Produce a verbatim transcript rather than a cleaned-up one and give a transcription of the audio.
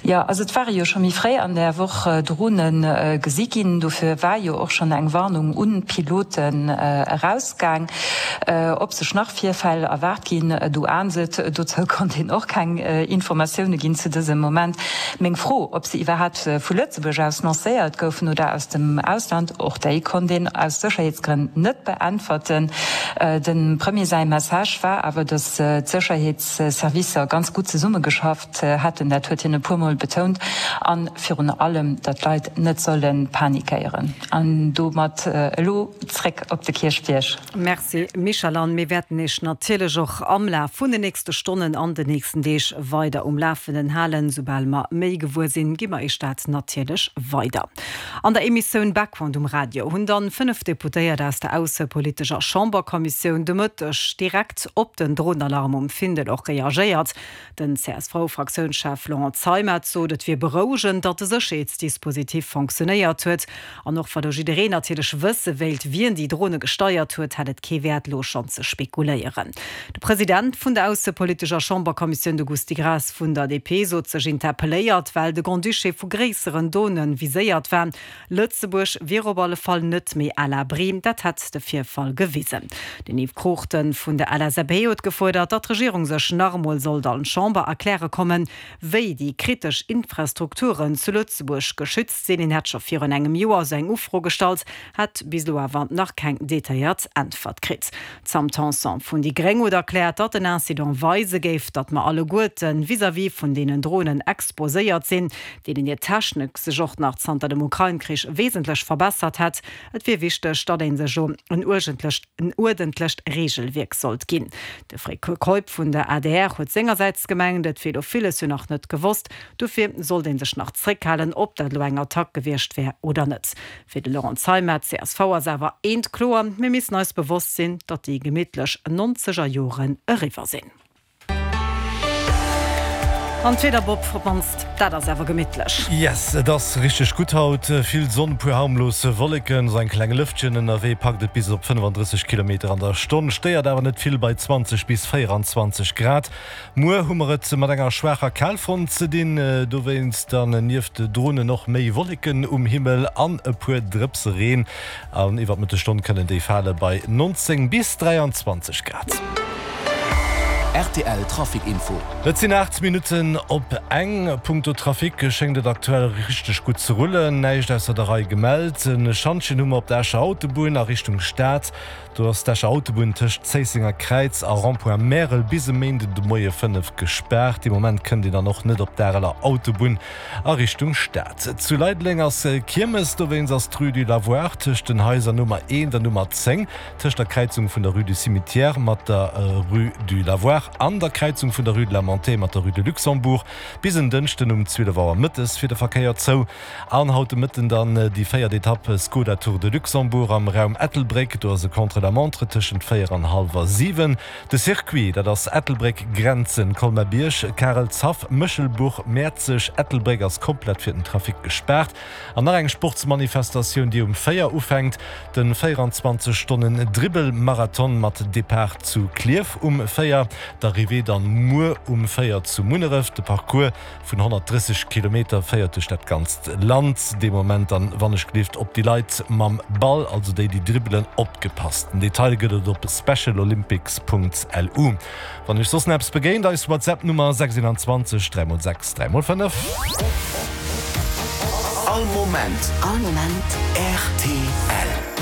Jo, also et ware jo scho méi fréi an der Woch Drone gesi ginn. Dofir war jo och schonn eng Warnung un d'Piloten erausgaang. Ob sech nach Virfäll erwaart ginn, do ahnt et. Dozou konnt een och keng Informatioune ginn zu dësem Moment. Meng Fro, ob se iwwerhaapt vu Lëtzebuerg aus lancéiert goufen oder aus dem Ausland, och déi konnt een aus Sécherheetsgrënn net beäntwerten. Dem Premier säi Message war awer, datt d'Sécherheetsservicer ganz gutt zesummegeschafft hätten, dat huet hien e puer Mol betount, a virun allem, datt d'Leit net solle panikéieren. An domat elo zréck op de Kierchbierg. Merci Michèle, an mir wäerten Iech natierlech och am Laf vun den nächste Stonnen an den nächsten Deeg weider um Lafenden halen. Soubal mer méi gewuer sinn, gi mer Iech dat natierlech weider. An der Emissioun Background um Radio hunn dann fënnef Deputéiert aus der aussepolitescher Chamberkommissioun de Mëtteg direkt op den Dronenalarm um Findel och reagéiert. Den C S V-Fraktiounschef Laurent Zeimet sot, et wier berouegend, datt de Sécherheetsdispositif fonctionnéiert huet. An och wa lo jiddereen natierlech wësse wéilt, wien déi Drone gesteiert huet, hätt et kee Wäert, lo schonn ze spekuléieren. De President vun der aussepolitescher Chamberkommissioun, de Gusty Graas vun der D P, sot sech interpelléiert, well de Grand-Duché vu gréisseren Done viséiert war. Lëtzebuerg wier op alle Fall net méi à l'abri, dat hätt de Virfall gewisen. Den Yves Cruchten vun der L S A P huet gefuerdert, datt d'Regierung sech nach emol sollt an d'Chamber erkläre kommen, wéi déi kritesch Infrastrukturen zu Lëtzebuerg geschützt sinn. Hien hätt scho virun engem Joer esou eng Ufro gestallt, hätt bis elo awer nach keng detailléiert Äntwert kritt. D'Sam Tanson vun déi Gréng huet erkläert, datt den Incident weise géif, datt mer alleguerte vis-à-vis vun deenen Dronen exposéiert sinn, deenen hir Technik sech och nach zanter dem Ukrain-Krich wesentlech verbessert hätt. Et wier wichteg, datt ee sech en uerdentlecht Reegelwierk sollt ginn. De Fred Keup vun der A D R huet sengersäits gemengt, et wier elo villes jo nach net gewosst, dofir sollt ee sech nach zréckhalen, ob dat elo eng Attack gewiescht wär oder net. Fir de Laurent Zeimet, C S V, ass awer eent kloer, Mir missten eis bewosst sinn, datt déi gemittlech nonzeger Joren eriwwer sinn. An d'Wieder, Bob, op d'mannst dat ass awer gemittlech. Yes, et ass richteg gutt haut. Vill Sonn, puer harmlos Wolleken, sou eng kleng Lëftchen ënnerwee packt et bis op fënnefandrësseg Kilometer an der Stonn, stéiert awer net vill bei zwanzeg bis véierundzwanzeg Grad. Muer hu mer et mat enger schwaacher Kalfront ze dinn, dowéinst dann nieft Dronen och méi Wolleken um Himmel an e puer Drëpse Reen. An iwwer d'Mëttesstonn kënnen déi fale bei neunzéng bis dräianzwanzeg Grad. R T L Trafic Info. Et sinn aacht Minutten op eng. Punkto Trafic schéngt et aktuell richteg gutt ze rullen. Näischt ausser der Rei gemellt. E Schantjen hu mer op der Escher Autobunn a Richtung Stad. Do ass d'Escher Autobunn tëscht Zéissenger Kräiz a Rond-point Märel bis e Méinden de Moie fënnef gespaart. Dee Moment kënnt een dann och net op d'Areler Autobunn a Richtung Stad. Zu Leideleng ass Kiermes, dowéinst ass d'Rue du Lavoir tëscht den Haiser Nummer eent an Nummer zéng, tëscht der Kräizung vun der Rue du Cimetière mat der Rue du Lavoir an der Kräizung vun der Rue de la Montée mat der Rue de Luxembourg, bis en Dënschden um zwielef Auer mëttes fir de Verkéier zou. An haut de Mëtten dann déi véiert Etapp Skoda Tour de Luxembourg am Raum Ettelbréck. Do ass e Contre-la-montre tëschent véier an hallwer siwen. De Circuit, dat ass Ettelbréck, Grenzen, Colmar-Bierg, Karelshaff, Méchelbuch, Mäerzeg. Ettelbréck ass komplett fir den Trafic gespaart. An nach eng Sportsmanifestatioun, déi um véier ufänkt, de véierundzwanzeg Stonnen Dribbelmarathon mat Depart zu Klierf um véier, d'Arrivée dann muer um véier zu Munneref. De Parcours vun honnertdrësseg Kilometer féiert duerch dat ganzt Land. Dee Moment dann, wann ech gelift, op déi Leit mam Ball, also déi, déi dribbelen, opgepasst. Den Detail gëtt et op specialolympics Punkt L U. Wann iech soss nach eppes begéint, eis WhatsApp-Nummer sechs een zwanzeg dräi mol sechs dräi mol fënnef. All Moment. All Moment. R T L.